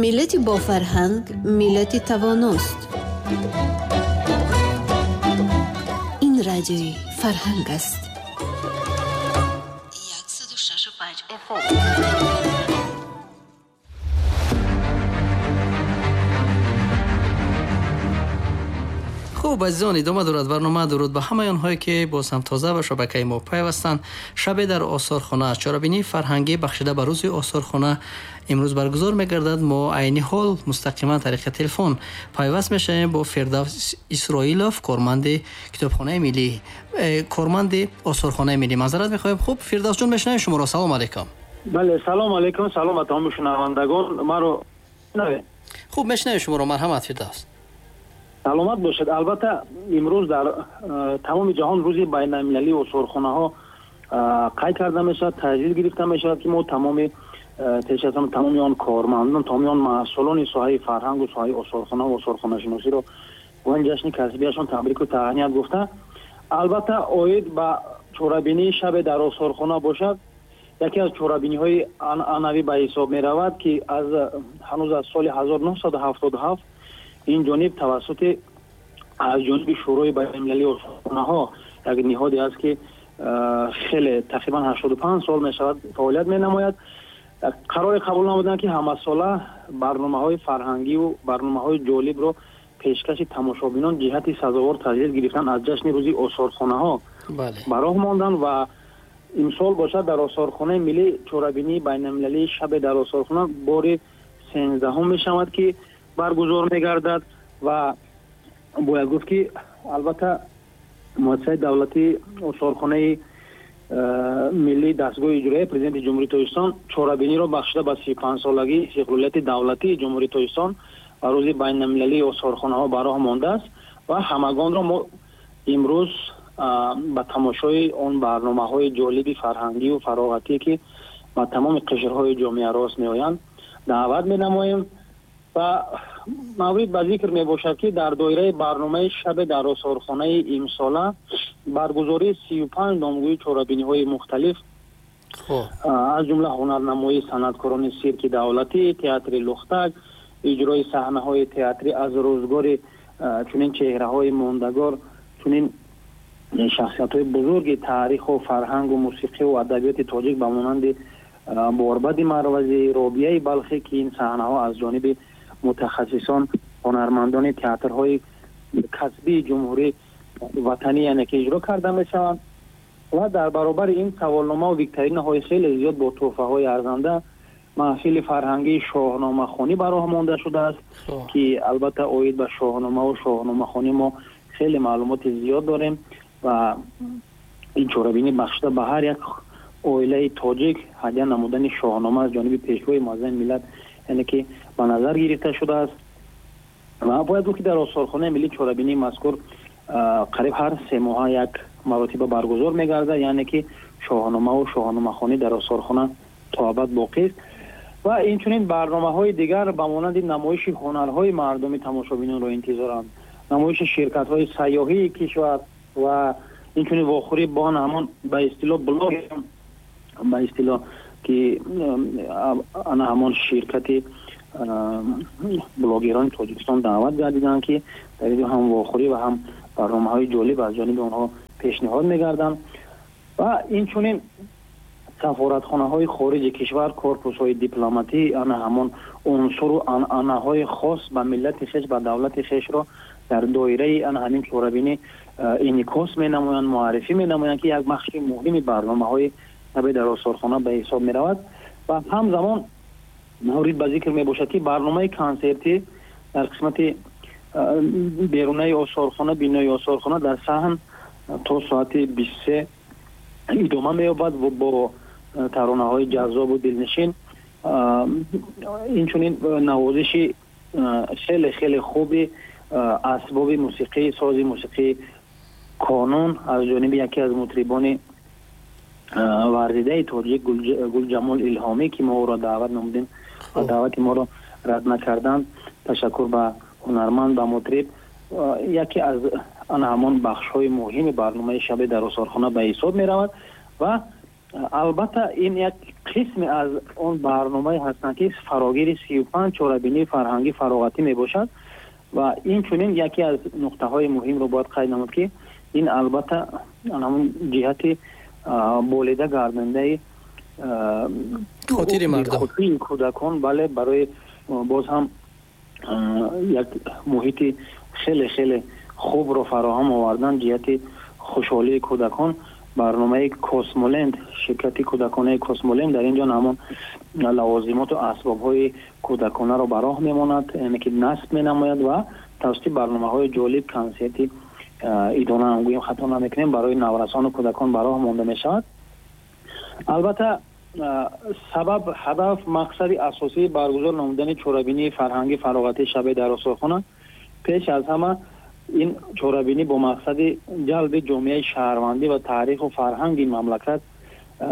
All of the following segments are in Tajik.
Миллати бофарҳанг миллати тавоност. Ин радиои Фарҳанг аст. 106,5 FM. Хуб, азизон, идома дорад барнома. Дуруд ба ҳамаи онҳое, ки боз ҳам тоза ба шабакаи мо пайвастанд. Шабе дар осорхона, чорабинии фарҳангӣ бахшида ба рӯзи осорхона имрӯз баргузор мегардад. Мо айни ҳол мустақиман тариқи телефон пайваст мешавем бо Фирдавс Исроилов, корманди китобхонаи миллӣ, корманди осорхонаи миллӣ. Маъзарат мехоҳем. Хуб, Фирдавсҷон, мешунавем шуморо. Салом алейкум. Бале, салом алейкум, салом ба тамоми шунавандагон. Маро хуб мешунавем шуморо. Марҳамат, Фирдавс. Саломат бошед. Албатта, имрӯз дар тамоми ҷаҳон рӯзи байналмилалии осорхонаҳо қайд карда мешавад, таҷлил гирифта мешавад, ки мо тамоми пеш аз ҳама тамоми он кормандон, тамоми он маҳсулони соҳаи фарҳангу соҳаи осорхона ва осорхонашиносиро бо ин ҷашни касбияшон табрику таҳният гуфта. Албатта, оид ба чорабинии шабе дар осорхона бошад, яке аз чорабиниҳои анъанавӣ ба ҳисоб меравад, ки аз ҳанӯз аз соли 1977 ин ҷониб тавассути аз ҷониби Шӯрои байналмилалии осорхонаҳо, як ниҳоде аст, ки хеле тақрибан 85 сол мешавад фаъолият менамояд, қароре қабул намуданд, ки ҳамасола барномаҳои фарҳангиву барномаҳои ҷолибро пешкаши тамошобинон ҷиҳати сазовор таҷлил гирифтан аз ҷашни рӯзи осорхонаҳо ба роҳ монданд. Ва имсол бошад, дар осорхонаи миллӣ чорабинии байналмилалии шабе дар осорхона бори 13-ҳум мешавад, ки баргузор мегардад. Ва бояд гуфт, ки албатта муассисаи давлатии осорхонаи миллӣ, дастгоҳи иҷроияи Президенти Ҷумҳурии Тоҷикистон, чорабиниро бахшида ба 35-солагии истиқлолияти давлатии Ҷумҳурии Тоҷикистон ва рӯзи байналмилалии осорхонаҳо ба роҳ мондааст. Ва ҳамагонро мо имрӯз ба тамошои он барномаҳои ҷолиби фарҳангию фароғатӣ, ки ба тамоми қишрҳои ҷомеа рост меоянд, даъват менамоем. Ва маврид ба зикр мебошад, ки дар доираи барномаи шабе дар осорхонаи имсола баргузории 35 номгӯи чорабиниҳои мухталиф, аз ҷумла ҳунарнамоии санъаткорони сирки давлатӣ, театри Лухтак, иҷрои саҳнаҳои театрӣ аз рӯзгори чунин чеҳраҳои мондагор, чунин шахсиятҳои бузурги таъриху фарҳангу мусиқиву адабиёти тоҷик ба монанди Борбади Марвазӣ, Робияи Балхӣ, ки ин саҳнаҳо аз ҷониби мутахассисон, ҳунармандони театрҳои касбии ҷумҳурӣ ватанӣ, яъне ки иҷро карда мешаванд. Ва дар баробари ин саволномаву викторинаҳои хеле зиёд бо тӯҳфаҳои арзанда, маҳфили фарҳангии шоҳномахонӣ ба роҳ монда шудааст, ки албатта оид ба шоҳномаву шоҳномахонӣ мо хеле маълумоти зиёд дорем. Ва ин чорабинӣ бахшида ба ҳар як оилаи тоҷик ҳадя намудани шоҳнома аз ҷониби Пешвои муаззами миллат, яъне ки ба назар гирифта шудааст. Ва бояд гуфт, ки дар осорхонаи миллӣ чорабинии мазкур қариб ҳар 3 моҳа як маротиба баргузор мегардад, яъне ки шоҳномаву шоҳномахонӣ дар осорхона то абад боқист. Ва инчунин барномаҳои дигар ба монанди намоиши ҳунарҳои мардуми тамошобинонро интизоранд, намоиши ширкатҳои сайёҳии кишвар ва инчунин вохӯрӣ бо ҳамон ба истилоҳ блог, ба истилоҳ ки ана ҳамон ширкати блогерони Тоҷикистон даъват гардиданд, ки дар инҷо ҳам вохӯрӣ ва ҳам барномаҳои ҷолиб аз ҷониби онҳо пешниҳод мегарданд. Ва инчунин сафоратхонаҳои хориҷи кишвар, корпусҳои дипломатӣ ана ҳамон унсуру анъанаҳои хос ба миллати хеш, ба давлати хешро дар доираи ана ҳамин чорабинӣ инъикос менамоянд, муаррифӣ менамоянд, ки як бахши муҳими барномаҳои шабе дар осорхона ба ҳисоб меравад. Ва ҳамзамон маврид ба зикр мебошад, ки барномаи консертӣ дар қисмати берунаи осорхона, бинои осорхона, дар саҳн то соати 23 идома меёбад бо таронаҳои ҷаззобу дилнишин, инчунин навозиши хеле хеле хуби асбоби мусиқӣ, сози мусиқии қонун аз ҷониби яке аз мутрибони варзидаи тоҷик Гулҷамол Илҳомӣ, ки мо ӯро даъват намудем ва даъвати моро рад накарданд. Ташаккур ба ҳунарманд, ба мутриб. Яке аз ана ҳамон бахшҳои муҳими барномаи шабе дар осорхона ба ҳисоб меравад. Ва Албатта ин як қисме аз он барномае ҳастанд, ки фарогири 35 чорабинии фарҳангӣ фароғатӣ мебошад ва инчунин яке аз нуқтаҳои муҳимро бояд қайд намуд, ки ин албатта ҳамон ҷиҳати болида гардондаи хотири мардум, хотири кӯдакон, бале, барои боз ҳам як муҳити хеле хеле хубро фароҳам овардан ҷиҳати хушҳолии кӯдакон. Барномаи Космоленд, ширкати кӯдаконаи Космоленд дар инҷо ҳамон лавозимоту асбобҳои кӯдаконаро ба роҳ мемонад, яъне ки насб менамояд ва тавассути барномаҳои ҷолиб консерти идона ҳам гӯем хато намекунем барои наврасону кӯдакон ба роҳ монда мешавад. Албатта сабаб, ҳадаф, мақсади асосии баргузор намудани чорабинии фарҳангӣ фароғатии шабе дар осорхона пеш аз ҳама ин чорабинӣ бо мақсади ҷалби ҷомеаи шаҳрвандӣ ва таъриху фарҳанги мамлакат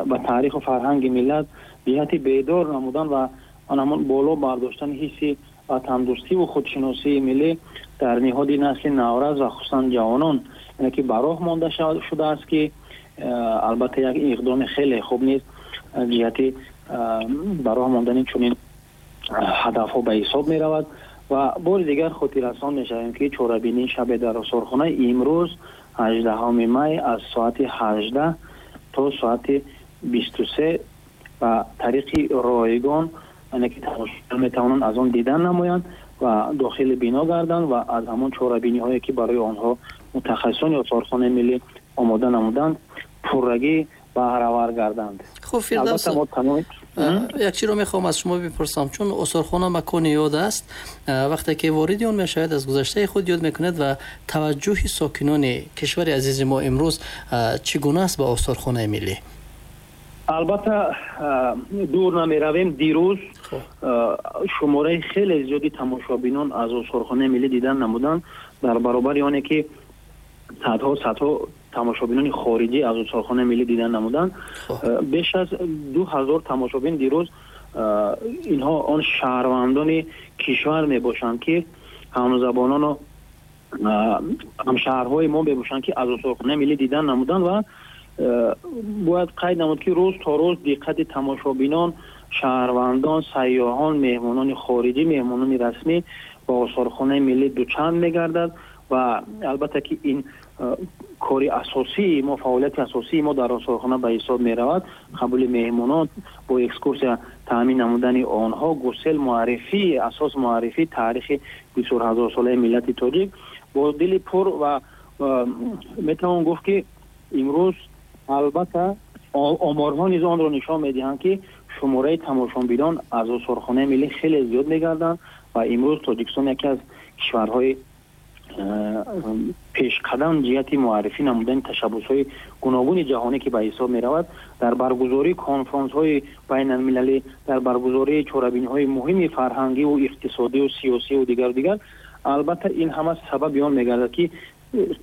ва таъриху фарҳанги миллат ҷиҳати бедор намудан ва ҳамон боло бардоштани ҳисси ватандӯстиву худшиносии миллӣ дар ниҳоди насли наврас ва хусусан ҷавонон, яъне ки ба роҳ монда шудааст, ки албатта як иқдоми хеле хуб низ ҷиҳати ба роҳ мондани чунин ҳадафҳо ба ҳисоб меравад. Ва бори дигар хотиррасон мешавем, ки чорабинии шабе дар осорхона имрӯз 18 май аз соати 18 то соати 23 ба тариқи ройгон, яъне ки тамошобинон метавонанд аз он дидан намоянд ва дохили бино гарданд ва аз ҳамон чорабиниҳое, ки барои онҳо мутахассисони осорхонаи миллӣ омода намуданд, пуррагӣ баҳравар гарданд. Хуб, Фирдавс, як чиро мехоҳам аз шумо бипурсам, чун осорхона макони ёд аст, вақте ки вориди он мешавед, аз гузаштаи худ ёд мекунед ва таваҷҷӯҳи сокинони кишвари азизи мо имрӯз чӣ гуна аст ба осорхонаи миллӣ? Албатта дур намеравем, дирӯз шумораи хеле зиёди тамошобинон аз осорхонаи миллӣ дидан намуданд, дар баробари оне ки садҳо тамошобинони хориҷӣ аз осорхонаи миллӣ дидан намуданд. Беш аз 2000 тамошобин дирӯз, инҳо он шаҳрвандони кишвар мебошанд, ки ҳамзабонону ҳамшаҳрҳои мо мебошанд, ки аз осорхонаи миллӣ дидан намуданд ва бояд қайд намуд, ки рӯз то рӯз диққати тамошобинон, шаҳрвандон, сайёҳон, меҳмонони хориҷӣ, меҳмонони расмӣ ба осорхонаи миллӣ дучанд мегардад ва албатта ки ин кори асосии мо, фаъолияти асосии мо дар осорхона ба ҳисоб меравад. Қабули меҳмонон, бо экскурсия таъмин намудани онҳо, гусел муаррифӣ, асос муаррифии таърихи 24,000-солаи миллати тоҷик бо дили пур ва метавон гуфт, ки имрӯз албатта оморҳо низ онро нишон медиҳанд, ки шумораи тамошобинон аз осорхонаи миллӣ хеле зиёд мегарданд ва имрӯз Тоҷикистон яке аз кишварҳои пешқадам ҷиҳати муаррифӣ намудани ташаббусҳои гуногуни ҷаҳонӣ, ки ба ҳисоб меравад, дар баргузории конфронсҳои байналмилалӣ, дар баргузории чорабиниҳои муҳими фарҳангиву иқтисодиву сиёсиву дигару дигар. Албатта ин ҳама сабаби он мегардад, ки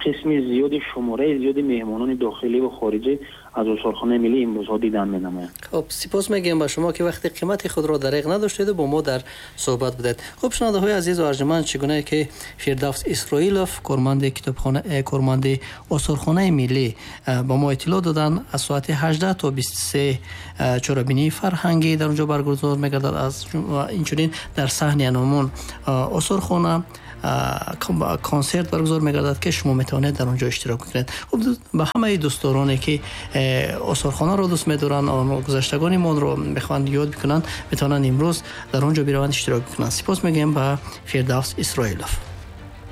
қисми зиёди, шумораи зиёди меҳмонони дохилӣ ва хориҷӣ аз осорхонаи миллӣ имрӯзҳо дидан менамоянд. Хуб, сипос мегӯям ба шумо, ки вақти қимати худро дареғ надоштеду бо мо дар суҳбат будед. Хуб, шунавандаҳои азизу арҷманд, чӣ гунае ки Фирдавс Исроилов, корманди китобхона, корманди осорхонаи миллӣ, ба мо иттилоъ доданд, аз соати 18 то 23 чорабинии фарҳангӣ дар онҷо баргузор мегардад. Аз инчунин дар саҳни аномон осорхона консерт баргузор мегардад, ки шумо метавонед дар онҷо иштирок кунед. Хуб, ба ҳамаи дӯстдороне, ки осорхонаро дӯст медоранд, гузаштагони монро мехоҳанд ёд бикунанд, метавонанд имрӯз дар он ҷо бираванд, иштирок бикунанд. Сипос мегӯем ба Фирдавс Исроилов.